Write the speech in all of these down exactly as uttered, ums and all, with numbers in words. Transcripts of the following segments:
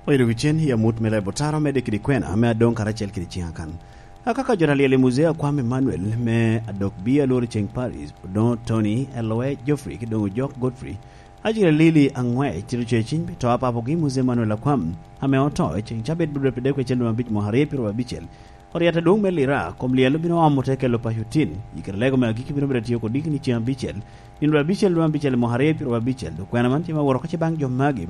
Oyedo kicen i amut me lebo taro, medde kede kwena ame adoŋ karacel kede ciŋa kan. Akaka jo alyel i Muzee Akwam Emmanuel me adok bi alworo ceŋ Paris, Odoŋo Tony, Eloe Geoffrey, kede Odoŋo Jok Godfrey, acel Lili Aŋwec, tito ce ciny pi to a papogi Muzee Emmanuel Akwam, ame oto i ceŋ cabit bibdwe pyeradek wecel dwe abic mwaka aryo pyero abicel. Oryet adwoŋ me Lira kom lyel obino omo te kelo paco tin. I kare lego me agikki bino bedo atio kodi kini ceŋ abicel, nino abicel dwe abicel mwaka aryo pyero abicel. Dok kwena man tye ma woro oko ce baŋ jo magi.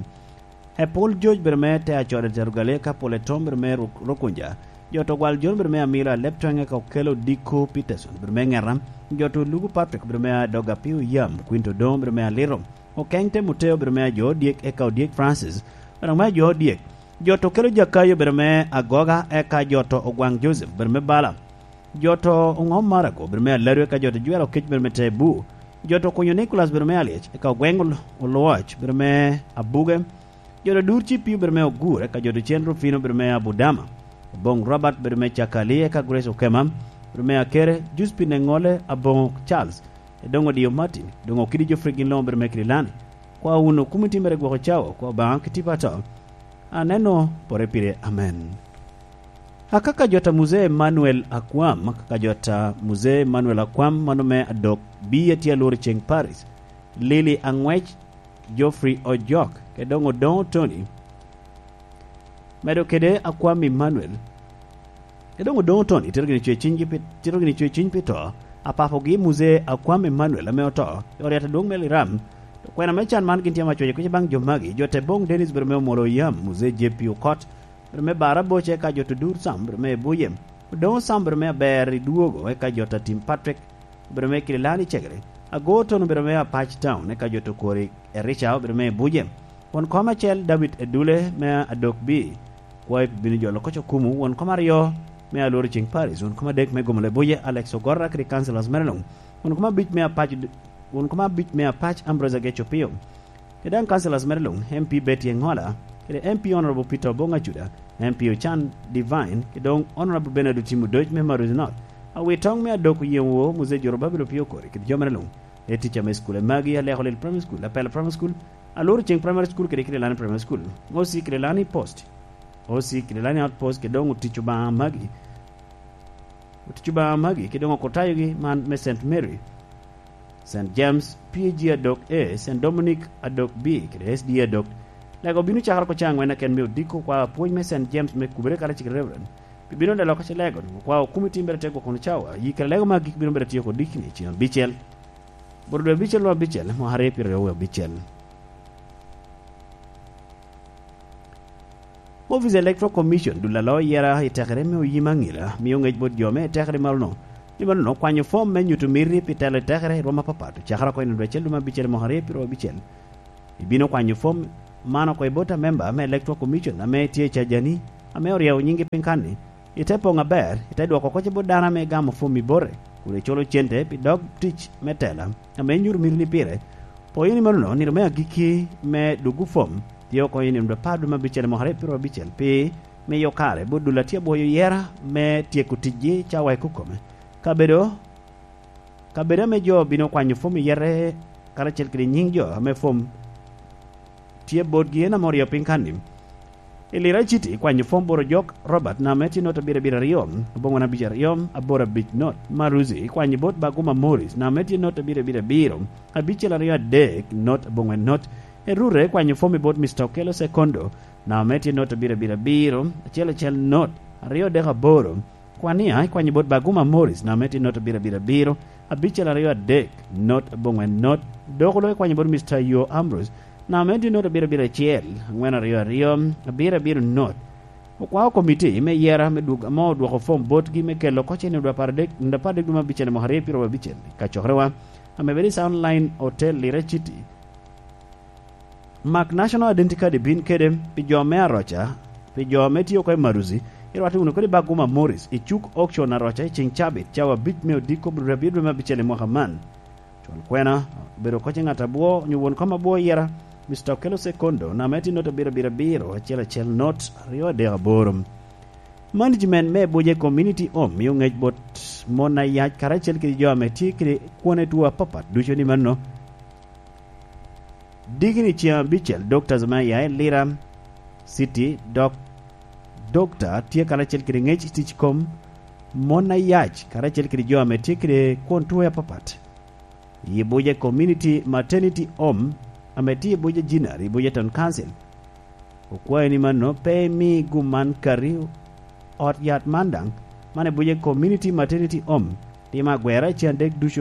Epol George bedo me te acode tero gali, eka pol etom bedo me Ruk-, Rukunja. Jo to gwal John bedo me Amilo, alep twenge ka okelo Diko Peterson bedo me Ŋeta. Jo to Lugu Patrick bedo me Adoga Piyo Yam, Quinto Doŋ bedo me Aliro. Okeŋ Timoteo bedo me Ajo Odyek, eka Odyek Francis bedo me Ajo Odyek. Jo to kelo Jakayo bedo me Agoga, eka jo to Ogwaŋ Joseph bedo me Bala. Jo to Oŋom Marago bedo me Aladu, eka jo to Jwero Kec bedo me Tebu. Jo to Kunyo Nicholas bedo me Alyec, eka Ogweŋ Ol-, Olwoc bedo me Abuge. Jo to Dur Cipio bedo me Ogur, eka jo to Cen Rufino bedo me Abudama. Oboŋ Robert bedo me Cakali, eka Grace Okema bedo me Akere, Juspin Eŋole, Aboŋo Charles, Edoŋo Dio Martin, Edoŋo Kidi Geoffrey gin luŋ bedo me Kirilani. Kwa wunu kumi timere gwoko cawa, kwa Obaŋa ki tipo ato. Aneno pore pire, amen. Akaka jota Muzee Emmanuel Akwam, akaka jota Muzee Emmanuel Akwam, mano me adok, biye tye alworo ceŋ Paris, Lili Aŋwec, Geoffrey Ojok, kede Odoŋo Tony, medo kede Akwam Emmanuel, kede Odoŋo Tony, tito gini cwe cinygi pi, tito gini cwe ciny pi to, apapogi Muzee Akwam Emmanuel ame oto, i oryet adwoŋ me Liram. To kwena me can man gin tye ma cweco kuc baŋ jo magi, jo te boŋ Dennis bedo me Omolo Yam, Muzee J P Okot, bedo me Bara Boce, ka jo to Dur Sam, bedo me Ebuye, Odoŋo Sam, bedo me Aber i Dwogo, eka jo to Tim Patrick, bedo me Kirilani Cegere, Ago Tono, bedo me Apac Town, eka jo to Kori Erica, bedo me Ebuye. Won kom acel David Edule me Adok Bi, kwayo pi bino jolo koc okumu, won kom aryo me Alworo Ceng Paris, won kom adek me Gomolo Ebuye, Alex Ogorra kede councillors mere luŋ, won kom abic me Apac, won kom abic me Apac Ambrose Ageco Pio. Kede daŋ councillors mere luŋ, M P Betty Engola, kede M P Honorable Peter Obong Acuda, M P Ochan Divine, kede doŋ Honorable Bernard Otim Odoc me Maruzi North. Awitoŋ me Adok Oyeŋ Woo, Muzee Jorobabel Opio Okori, kede jo mere luŋ. Eti ca me cukul, magi Aleko Lil Primary School, Apela Primary School, Aluru Ceng Primary School, kede Kirilani Primary School. O C Kirilani Post. O C Kirilani Outpost, kede doŋ otic Obaŋa magi. Otic Obaŋa magi, kede doŋ okutayogi man me Saint Mary, Saint James, P A G Adok A, Saint Dominic Adok B, kede S D A Adok. Lego bino cakere oko caŋ wen aken me odiko kwa apwony me Saint James me Kubere karacel kede Reverend. Pi bino delo oko ce lego, kwa okumi tim bere te gwoko kono cawa, yi kede lego me agik bino bere tiyo kodi kini ceng abicel. Boro dwe abicel, dwe abicel, mwaka aryo pyeraryo wie abicel. Office Electoral Commission dul alo yera i tekere me oyim aŋila, mio ŋec bot jo me tekere malono. Ni malono, kwanyo fom me nyuto miti pi telo i tekere i rwom apapat, ocakere oko i nino dwe acel dwe me abicel mwaka aryo pyeraryo abicel. Ibino kwanyo fom man oko i bot amemba me Electoral Commission ame tye i Cajani, ame oryewo nyinggi piny kanni. Ite poŋ aber, ite dwoko kocci bot dano ame igamo fom i bote, kun iculo cente pi dog tic me tela ame inyuto mitini pire. Poyo ni manono, nino me agikki me duggo fom tye oko i nino apar dwe me abicel mwaka aryo pyeraryo abicel, pi miyo kare bot dul a tye abwoyo yera me tyeko ticgi cawa i kukome. Kabedo Kabedo ame jo bino kwanyo fom i yete karacel kede nyiŋ jo ame fom tye botgi en ame oryeyo piny kanni. I Lira City, kwanyo fom bot Ojok Robert, name tye not abiro abiro aryo, abongwen abic aryo, aboro abic not. Maruzi, kwanyo bot Baguma Morris, name tye not abiro abiro abiro, abicel aryo adek, not abongwen not. Erure, kwanyo fom i bot Mister Okello Sekondo, name tye not abiro abiro abiro, acel acel not, aryo adek aboro. Kwania ikwanyo bot Baguma Morris, name tye not abiro abiro abiro, abicel aryo adek, not abongwen not. Dok olo ikwanyo bot Mister Yo Ambrose, name tye not abiro abiro acel, angwen aryo aryo, abiro abiro not. Okwao komiti me yera me dwog ame odwoko fom botgi me kelo oko cene dwe apar adek, dwe apar adek dwe me abicel mwaka aryo pyeraryo abicel, ka cokerewa ame bedo i Sound Line Hotel Lira City. Mak National Identity Card ibin kede pi jo me Aroca, pi jo ame tye oko i Maruzi, irwatte wunu kede Baguma Morris i cuk auction Aroca i ceng cabit, cawa abic me odiko, bro abiro dwe me abicel i mwaka man. Cwal kwena, obedo koc i ŋat abwo, onyo won kom abwo yera, Mister Okello Sekondo, name tye not abiro abiro abiro, acel acel not, aryo adek aboro. Management me Abuja Community Home mio ŋec bot mon ayac karacel kede jo ame tye kede kwone two apapat ducu ni mano Diki ni ciaŋ abicel, Dokta Zumaya i Lira City, dok Dokta tye karacel kede ŋec i tic kom mon ayac, karacel kede jo ame tye kede kwon tuwe apapat. I Buja Community Maternity Home, ame tye i Buja Jinar, i Buja Town Council, okwayo ni mano pe imi gum man kati ot yat man daŋ, man i Buja Community Maternity Home, timo agwera i ciaŋ adek ducu